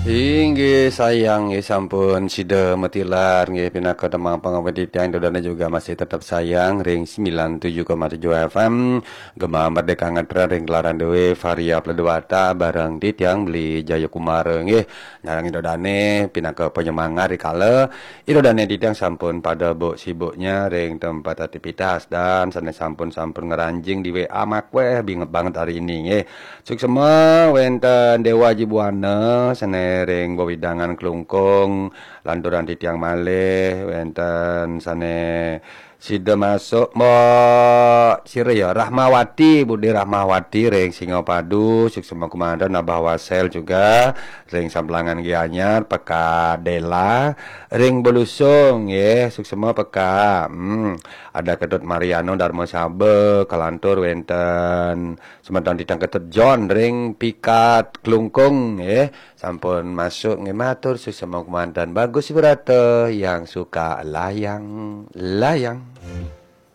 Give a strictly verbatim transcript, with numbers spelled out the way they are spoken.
Inggih sayang, nggih sampun sida matilar, nggih pinaka tembang pangawit titiang, ida dane juga masih tetap sayang ring sembilan tujuh koma tujuh F M Gema Merdeka Ngetren ring gelaran due Varia Pledwata bareng titiang Beli Jayakumara, nggih. Nyarengin ida dane pinaka penyemangat rikala ida dane titiang sampun pada buk sibuknya ring tempat aktivitas dan sane sampun-sampun ngranjing di W A makweh bingit banget hari ini, nggih. Suksema wenten Dewa Aji Buana sane ring wewidangan Klungkung, lanturan titiang malih wenten sane sida masuk Mbok sira ya, Rahmawati, Budi Rahmawati ring Singapadu, suksema kumanten. Abah Wasel juga ring Samplangan Gianyar, Peka Dela ring Belusung, nggih, suksema Peka. Hmm, ada Ketut Mariano Darma Saba, kalantur wenten semeton titiang Ketut John ring Pikat Klungkung, nggih. Sampun masuk, nggih, matur suksema kumanten. Bagus Wirata yang suka layang-layang.